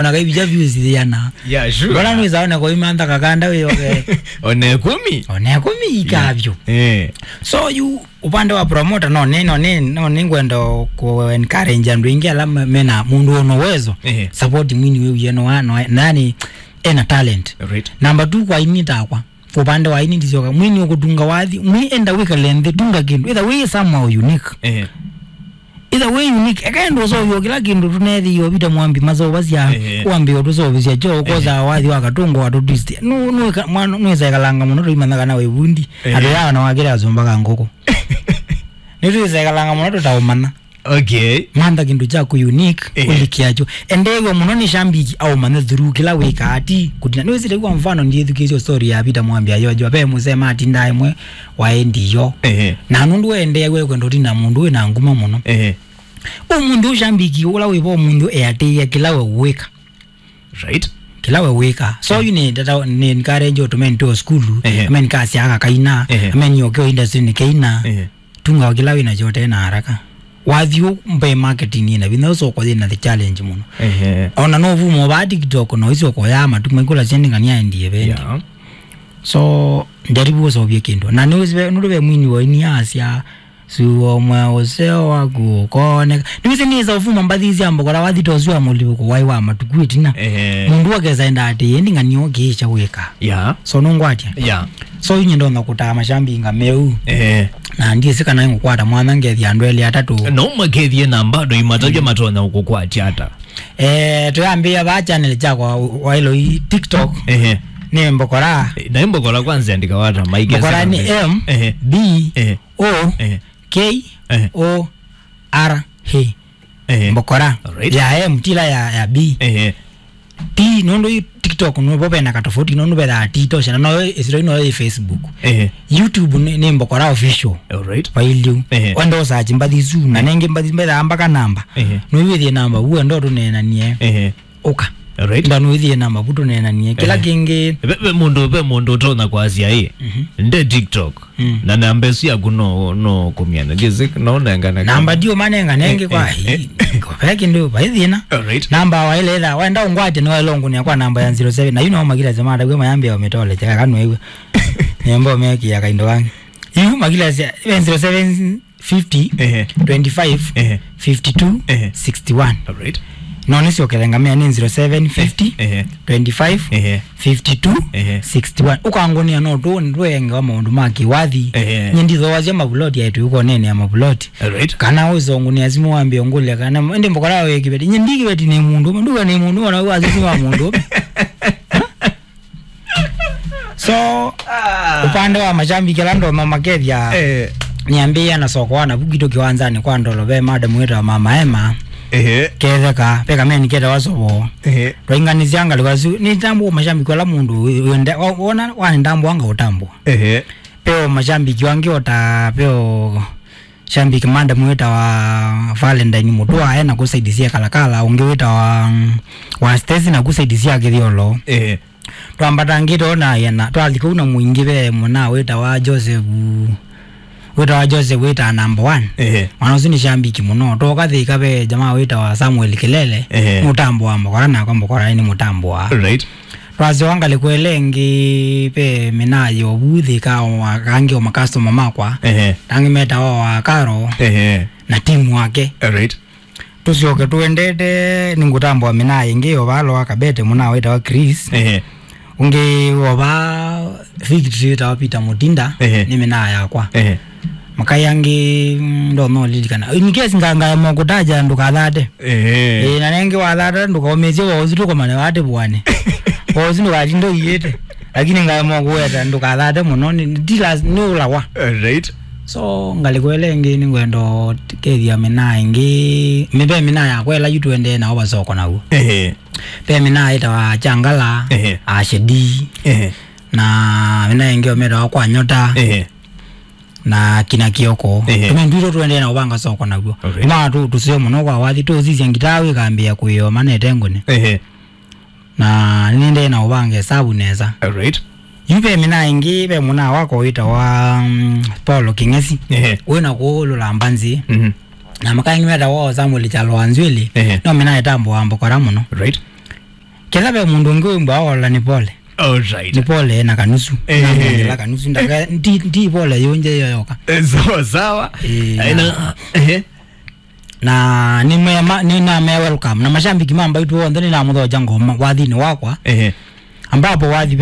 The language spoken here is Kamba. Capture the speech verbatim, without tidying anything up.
Ona kaivija views ziana. Yeah, sure. Bora nwiza one kwa imantha kakanda we yoke. One kumi? One kumi ikavyo. Eh. So you upande wa promoter no ne no ne no ningwenda ku encourage andũ aingĩ ala me- mena mũndũ ona uwezo. Eh. Support mwini we uye no no nani ena talent. Right. Number two kwa ini takwa. Upande wa ini ndisyoka. Mwini ukutunga wathi. Mwi enda wikale nthi tunga kindu. Either way somehow unique. Eh. Either way unique. Eka enda useũvya kila kindu tunethĩie Peter Mwambi maseũvasya. Ehe. Wambĩĩa ũtũseũvĩsya kyo, ũkosa wathi wa katũngũ wa tũtwist. Nu nu mwana nu isekalanga mũno tũimanya kana wĩ vundi. Ehe. Andũ yaa na wakĩle asũmbaga ngũkũ. Nĩ tũisekalanga mũno tũtaũmanya. Okay. Mantha kindu kyaku unique. Ehe. Ũlikiakyo. Endeew'a mũno nĩ shambiki aũmanye through kila wĩkaa ti kutina. Nĩwĩsĩte kwa mfano ndiĩthukĩĩsye story ya Peter Mwambi ayojwa ve mũsema atindaa ĩmwe waĩ ndiyo. Ehe. Na nũndũ endeew'a kwenda ũtina mũndũ wĩ na nguma mũno. Ehe. Ũmũnthĩ ũshambiki ũla wĩ vo ũmũnthĩ eatĩĩa kĩla we wĩka. Right. Kĩla we wĩka. So yu nĩ tata nĩ encourage ũtũme nĩ to school. Ehe. Ame nĩ kasya aka kaina. Ehe. Ame nĩ okeo industry nĩ keina. Ehe. Tunga o kĩla wĩ nakyo ũte na haraka. Wathi ũ mbe marketing ina vinya ũsoko yĩ na the challenge mũno. Ehe. Ona no vumo ba TikTok no iso ko ya matu mai kula sending ngania endie bendi. Yeah. So ndaribu ũsovie kindu. Na nĩ nũndũ ve mwini wa ini asya Suo mwa ũseo waku ũkoneka. Nĩwĩsĩ nĩsa ũfuma mbathi sya mbokora wathi ta ũsu wa mũlivũko waĩ wa matuku ĩtina. Ehe. Mũndũ akesa enda atĩ ĩndĩ ng'ania ũkĩĩkya wĩka. Yeah. So nũngwatya. Yeah. So inye ndonya kũtaa mashambi nga meu. Ehe. Na ndiĩsĩ kana ngũkwata mwanya ngethĩa andũ elĩ atatũ. No makethie na bado imatavya matonya kũkwatya ata. Eh, tuyambia ba channel chakwa wailo i TikTok. Ehe. Nĩ mbokora. Na mbokora kwanza andika wata maike. Mbokora ni M B O K O R A. Ehe. Mbokora. Alright. Ya M tila ya, ya B. Ehe. T nũndũ yu TikTok nũvo vena katofauti nũndũ vethaa T tosha na no isiro ino ĩ Facebook. Ehe. YouTube ni, ni mbokora official. Alright. Vailiu. Ehe. Wenda usachi mbathi isu na nengi mbathi mbethaa mpaka namba. Ehe. Nũiwĩthie namba vu wenda ũtũneenanie. Ehe. Ũka. Alright. Nda nũithi na mavuto nenanie kĩla kĩngĩ. Ve ve mũndũ ve mũndũ ũtonya kwasya ĩ nde TikTok. Na namba ĩsu yaku no no kũmyana jezi no nengana namba ndio manenga nengi kwa hii. Ve kĩndũ vai thĩna. Alright. Namba wa ile etha wenda ungwate no elongo ni kwa namba ya zero seven na you know magila zema da gwe mayambe ometole chaka kanwe iwe. Nembo meki ya kaindo wangi. You magila zero seven fifty, ehe, twenty-five, ehe, fifty-two, ehe, sixty-one. Alright. No nĩsyokelenga mea nĩ zero seven fifty, ehe, twenty-five, ehe, fifty-two, ehe, sixty-one. Ũkangũnĩa no tũ ndwenge wa maũndũ ma kĩwathi. Ehe. Nye ndithoasya mavuloti aitũ ũkonene ya mavuloti. Alright. Kana ũsongũnĩa simũ wambie ngũlya kana ndi mbokora wĩ kĩveti. Nye ndi kĩveti nĩ mũndũ, nduga nĩ mũndũ ona wĩ wasisi wa mũndũ. So upande wa mashabiki ala ndono makethia, eh, niambia na soko wana vukitu kiwanzani kwa ndolo ve madam wetu wa mama Emma. Ehe. Ketheka peka meni kete wasobo. Ehe. Twainganisya ngalika su ni tambu mashabiki ala mundu wende ona wani tambu anga utambu. Ehe. Peo mashabiki wangi ota peo shambiki madam wĩtawa Valentine Mutua ena kũsaidisia Kalakala, ũngĩ wĩtawa, mm, wa Stacy na kũsaidisia Kĩthiolo. Eh. Twambatangĩte ona yena twathi kũu na mũingĩ ve mũna wĩtawa Joseph, wĩtawa Joseph wĩtaa number one. Eh. Mwana ũsu nĩ shambiki mũno. Twoka Thika ve jamaa wĩtawa Samuel Kilele, eh, mũtambo wa mbokora nakwa mbokora nĩ mũtambo wa. Right. Twasyoka ngalĩko ĩla ĩngĩ ve mĩnaa yovu Thika o angĩ o makastoma makwa. Ehe. Angĩ metawa wa Karo, ehe, na timu wake. Alright. Tũsyoke tũendete nĩngũtambũa mĩnaa ĩngĩ o vaa loa Kabete mũnaa wĩtawa Chris. Ehe. Ũngĩ o vaa victory wĩtawa Peter Mutinda, ehe, nĩ mĩnaa yakwa. Ehe. Makai angĩ, mm, ndonya ũlilikana. In case nga-, ngaema kũtaja ndũkathate. Ehe. Ĩĩ, na nengĩ wathata ndũkaũmĩsye wa ũsu tũkomane wate vũane. Wa ũsu ndũkatinde ũiĩte. Lakini ngaema kũweta ndũkathate mũno. Nĩ, nĩ, nĩ ũlawa. Alright. So, ngalĩko ĩla ĩngĩ nĩngwenda kethia mĩnaa ĩngĩ. Mĩve mĩnaa yakwa ĩla yu tũendee nao vasoko naw'o. Ehe. Ve mĩnaa ĩtawa Changala, ehe, Ashedi. Ehe. Na mĩnaa ĩngĩ ometawa kwa Nyota. Ehe. Na kina Kioko. Ehe. Tũmĩndũ itũ tũendee na ũvanga soko naw'o. Okay. Kuma tu tusio mũno kwa wathi tũsisya ngitaa wĩkambĩa kũĩo manete ngũne. Ehe. Na nĩndee na ũvanga esavu nesa. Alright. Yu ve mĩnaa ĩngĩ ve mũnaa wako wĩtawa, mm, Paulo Kĩng'esi. Ehe. Wĩna kũũlũla mbanzi. Mhm. Na makaingi metawa Samuel Chalo wa Nzwĩlĩ. Ehe. No mĩnaa ĩtambo wa mbokora mũno. Right. Kĩla ve mũndũ ũngĩ wĩmbwa ola nĩ pole. All right. Nĩ pole na kanusu. Eh. Namwongela kanusu. Ndaka, ndi, ndi pole yonje yo yoka. Eh, sawa, sawa. Eh, Eh, na, na, ehe. Na nĩ mema, nĩ na me welcome. Na mashabiki ma Mbaitũ onthe nĩ namũthoja ngoma wathinĩ wakwa. Ehe. Ambapo wathi